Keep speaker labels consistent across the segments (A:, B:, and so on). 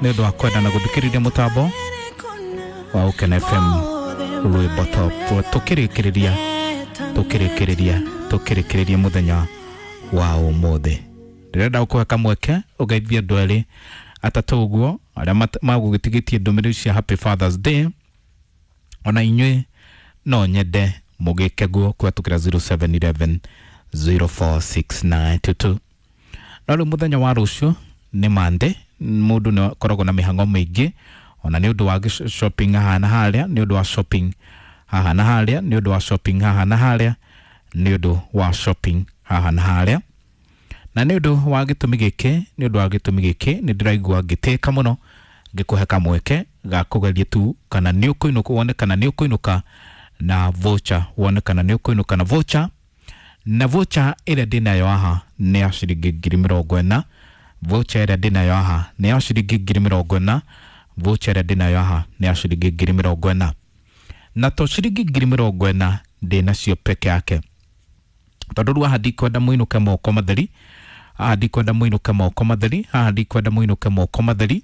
A: Nĩ ũndũ wa kwenda na gũthikĩrĩria mũtambo wa Ũkena FM rwĩmbo top. Tũkĩrĩkĩrĩria, tũkĩrĩkĩrĩria, tũkĩrĩkĩrĩria mũthenya wa ũmũthĩ, ndĩrenda gũkũhe kamweke ũgeithie andũ erĩ atatũ ũguo arĩa magũgĩtigĩtie ndũmĩrĩri cia Happy Fathers Day. Ona inyuĩ no nyende mũgĩke guo kũhetũkĩra 0711 046922. No rĩu mũthenya wa rũciũ nĩ mande, mũndũ nĩ akoragwo na mĩhang'o mĩingĩ, ona nĩ ũndũ wa shopping haha na harĩa, nĩ ũndũ wa shopping haha na harĩa, nĩ ũndũ wa shopping haha na harĩa, nĩ ũndũ wa shopping haha na harĩa. Na nĩ ũndũ wa gĩtũmi gĩkĩ, nĩ ũndũ wa gĩtũmi gĩkĩ, nĩ ndĩraigua ngĩtĩka mũno ngĩkũhe kamweke ga kũgeria tu kana nĩ ũkũinũka, wone kana nĩ ũkũinũka na voucher, wone kana nĩ ũkũinũka na voucher. Na voucher ĩrĩa ndĩnayo haha nĩ ya ciringi 40,000. Voucher ĩrĩa ndĩnayo haha nĩ ya ciringi 40,000. Voucher ĩrĩa ndĩnayo haha nĩ ya ciringi 40,000. Na to ciringi 40,000 ndĩnacio peke yake, tondũ rĩu haha ndikwenda mũinũke moko matheri, haha ndikwenda mũinũke moko matheri, haha ndikwenda mũinũke moko matheri.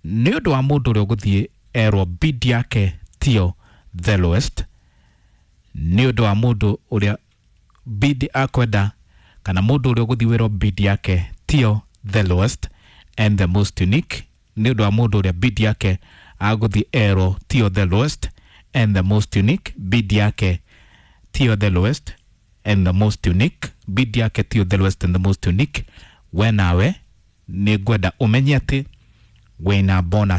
A: Nĩ ũndũ wa mũndũ ũrĩa ũgũthiĩ erwo bid yake tio the lowest, nĩ ũndũ wa mũndũ ũrĩa bid akwenda, kana mũndũ ũrĩa ũgũthiĩ wĩrwo bid yake tio the lowest and the most unique, nĩ ũndũ wa mũndũ ũrĩa bid yake agũthiĩ erwo tio the lowest and the most unique, bid yake tio the lowest and the most unique, bid yake tio the lowest and the most unique, we nawe nĩ ngwenda ũmenye atĩ wĩna bonus.